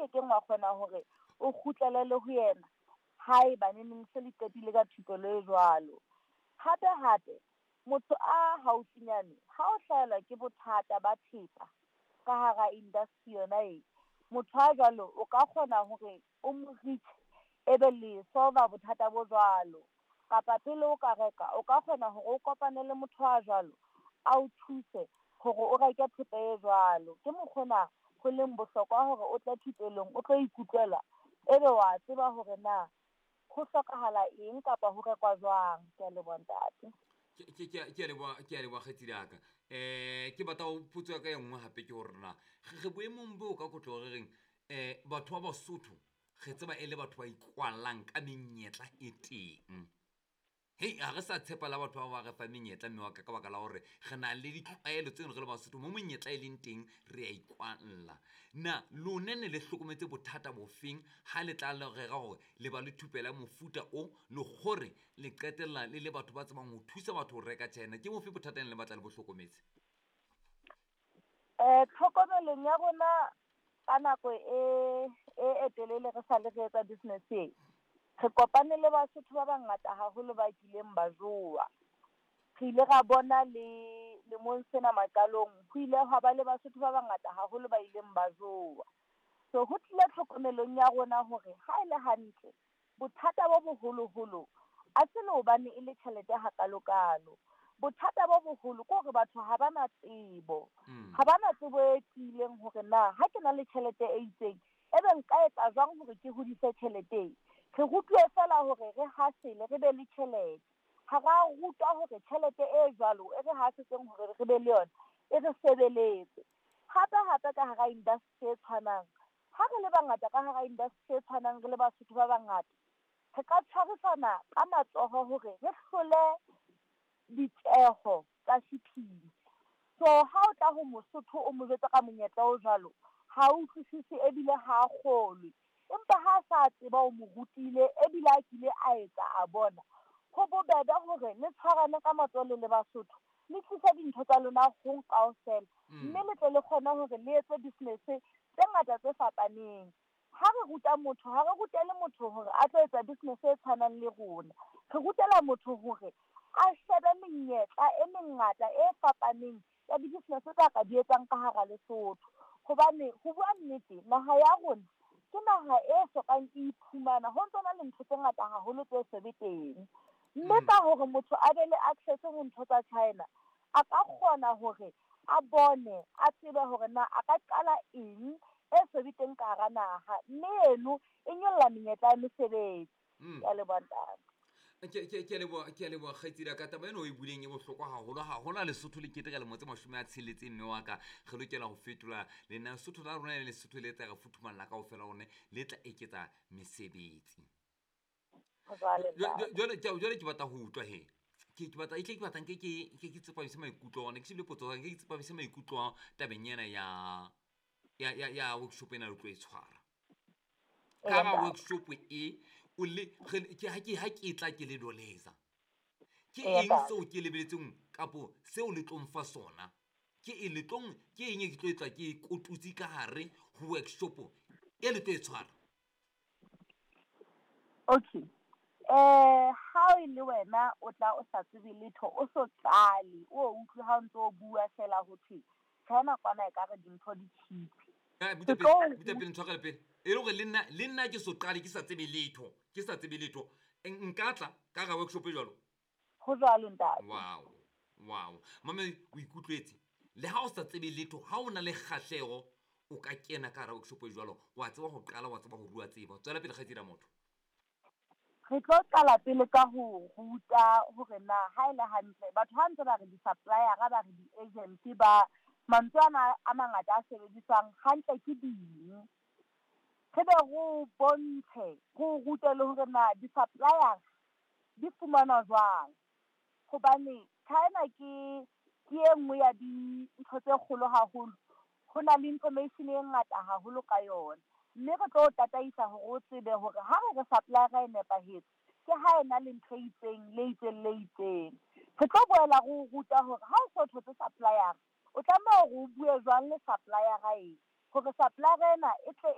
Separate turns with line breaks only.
kekeng wa kgona hore o kgutlele le ho yena haeba neneng se le qetile ka thupelo e jwalo. Hape hape, motho a haufinyane ha o hlahelwa ke bothata ba thepa ka hara industry yona e, motho a jwalo o ka kgona hore o mo reach ebe le solve bothata bo jwalo. Kapa pele o ka reka, o ka kgona hore o kopane le motho a jwalo a o thuse hore o reke thepa e jwalo. Ke mokgona ho leng bohlokwa hore o tle thupelong, o tlo ikutlwela ebe wa tseba hore na ho hlokahala eng kapa ho rekwa jwang. Ke a leboha, ntate.
Ke a leboha, ke a leboha kgaitsedi ya ka. Ke batla ho potso ya ka e nngwe hape ke hore na re boemong boo ka kotlo re reng batho ba Basotho re tseba e le batho ba ikwallang ka menyetla e teng. Hei, ha re sa tshepa la batho ba ba re fa menyetla mme wa ka ka baka la hore re na le ditlwaelo tseno re le Basotho mo monyetla e leng teng re a ikwalla. Na lone ne le hlokometse bothata bofeng ha le tla le rera hore le ba le thupelo ya mofuta o le gore le qetella le le batho ba tsebang ho thusa batho ho reka China? Ke bofe bothata ne le batla le bo hlokometse?
Tlhokomelong ya rona ka nako e telele re sa le re etsa business e, re kopane le Basotho ba bangata haholo ba kileng ba jowa. Re ile ra bona le lemong sena maqalong ho ile hwa ba le Basotho ba bangata haholo ba ileng ba jowa. So ho tlile tlhokomelong ya rona hore ha e le hantle bothata bo boholoholo a se le hobane e le tjhelete hakalokalo. Bothata bo boholo ke hore batho ha ba na tsebo. Ha ba na tsebo e tiileng hore na ha ke na le tjhelete e itseng ebe nka etsa jwang hore ke hodise tjhelete e. Re rutuwe feela hore re hasele re be le tjhelete. Ha ra rutwa hore tjhelete e jwalo e re hasetseng hore re be le yona e re sebeletse. Hape hape ka hara industry e tshwanang, ha re le bangata ka hara industry e tshwanang re le Basotho ba bangata, re ka tshwarisana ka matsoho hore re hlole ditjeho tsa shipping. So ha o tla ho Mosotho o mo jwetsa ka monyetla o jwalo, ha utlwisise ebile ha a kgolwe. Empa ha a sa tseba o mo rutile ebile a kile a etsa a bona, ho bobebe hore le tshwarane ka matsoho le le Basotho, le tlise dintho tsa lona hong kaofela, mme le tle le kgone hore le etse business tse ngata tse fapaneng. Ha re ruta motho, ha re rutele motho hore a tlo etsa business e tshwanang le rona. Re rutela motho hore a shebe menyetla e mengata e fapaneng ya di-business tsa ka di etsang ka hara Lesotho. Hobane ho bua nnete, naha ya rona ke naha e sokang e iphumana, ho ntso na le ntho tse ngata haholo tse so be teng. Mme ka hore motho a be le access ho ntho tsa China, a ka kgona hore a bone, a tsebe hore na a ka qala eng e so be teng ka hara naha, mme eno e nyolla menyetla ya mesebetsi. Ke a leboha, ntate.
Ke a leboha, ke a leboha kgaitsedi ya ka. Taba ena o e buileng e bohlokwa haholo haholo. Ha Lesotho le keteka lemo tse 60 mme wa ka, re lokela ho fetola lena Lesotho la rona le Lesotho le tla re futhumalla kaofela hone le tla eketsa mesebetsi. Jwale ke batla ho utlwa he. Ke batla, ke batla nke ke tsepamise maikutlo ona, ke shebile potso nke ke tsepamise maikutlo tabeng ena ya workshop ena le tlo e tshwara. Ka ga workshop e o le ke ha ke ha ke tla ke le doleza. Ke eng seo ke lebeletseng kapo seo le tlo mfa sona? Ke e le tlong, ke eng e ke tlo etla ke kotutsi ka hare ho workshop e le tlo e tshwara?
Okay. Ha e le wena o tla o sa tsebe letho, o so qale, o utlwe ha o ntso o bua fela ho thwe China kwana e ka re dintho di cheap.
Buta pele, ntshwarele pele. E le hore le nna ke so qale ke sa tsebe letho, ke sa tsebe letho. Nka tla ka ga workshop e jwalo?
Ho jwalo, ntate.
Wow, wow. Mame, o ikutlwetse. Le ha o sa tsebe letho, ha o na le kgahleho, o ka kena ka hara workshop e jwalo, wa tseba ho qala, wa tseba ho rua tsebo. Tswela pele kgaitsedi ya motho.
Re tlo qala pele ka ho ruta hore na ha e le hantle batho ha ntse ba re di-supplier, ba re di-agent, ba mantswe ana a mangata a sebediswang hantle ke ding. Re be re bontshe, re rute le hore na di-supplier di fumanwa jwang. Hobane China ke e nngwe ya dintho tse kgolo haholo, ho na le information e ngata haholo ka yona. Mme re tlo tataisa hore o tsebe hore ha re re supplier e nepahetse, ke ha e na le ntho e itseng le itseng le itseng. Re tlo boela re o ruta hore ha o so thotse supplier, o tlameha hore o bue jwang le supplier e, hore supplier ena e tle